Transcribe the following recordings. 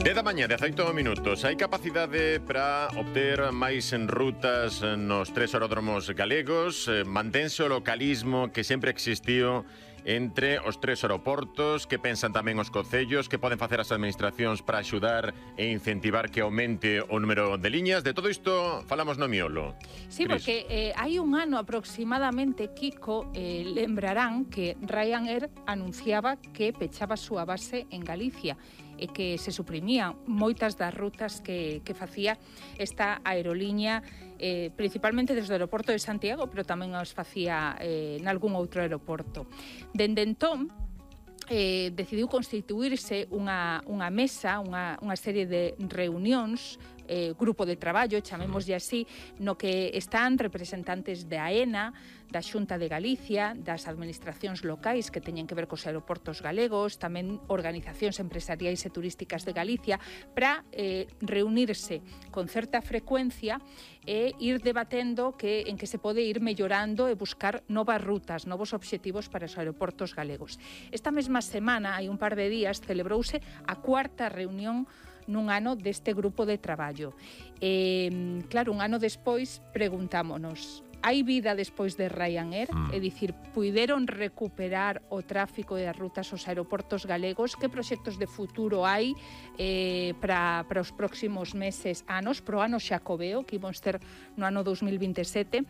10 da mañá, 18 minutos. Hai capacidade para obter máis en rutas nos 3 aeródromos galegos. Mantense o localismo que sempre existiu entre os 3 aeroportos. Que pensan tamén os concellos? Que poden facer as administracións para axudar e incentivar que aumente o número de liñas? De todo isto falamos no miolo. Sí, Cris. porque hai un ano aproximadamente, Kiko, lembrarán que Ryanair anunciaba que pechaba a súa base en Galicia e que se suprimían moitas das rutas que facía esta aerolínea, principalmente desde o aeroporto de Santiago, pero tamén os facía nalgún outro aeroporto. Dende entón, decidiu constituirse unha mesa, unha serie de reunións, grupo de traballo, chamémoslle así, no que están representantes de AENA, da Xunta de Galicia, das administracións locais que teñen que ver cos aeroportos galegos, tamén organizacións empresariais e turísticas de Galicia, para reunirse con certa frecuencia e ir debatendo en que se pode ir mellorando e buscar novas rutas, novos obxectivos para os aeroportos galegos. Esta mesma semana, hai un par de días, celebrouse a 4ª reunión nun ano deste grupo de traballo. Claro, un ano despois preguntámonos: hai vida despois de Ryanair? É dicir, puideron recuperar o tráfico e as rutas aos aeroportos galegos? Que proxectos de futuro hai para os próximos meses, anos, pro ano xacobeo que imos ter no ano 2027?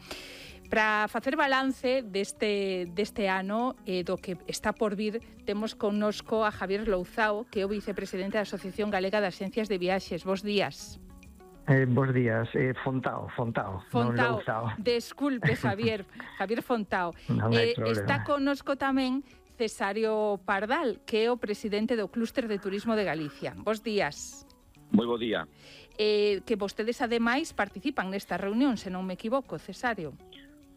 Para facer balance deste ano do que está por vir, temos connosco a Javier Louzao, que é o vicepresidente da Asociación Galega de Axencias de Viaxes. Bos días. Bos días, Fontao, non Louzao. Desculpe, Javier Fontao. Está connosco tamén Cesario Pardal, que é o presidente do Clúster de Turismo de Galicia. Bos días. Moi bo día. Que vostedes, ademais, participan nesta reunión, se non me equivoco, Cesario.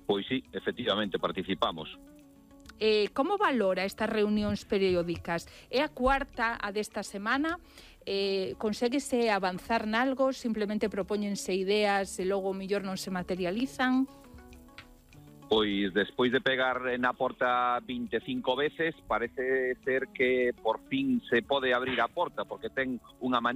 Pois sí, efectivamente, participamos. Como valora estas reunións periódicas? É a 4ª a desta semana? Conséguese avanzar nalgo? Simplemente propóñense ideas e logo mellor non se materializan? Pois despois de pegar na porta 25 veces, parece ser que por fin se pode abrir a porta, porque ten unha manía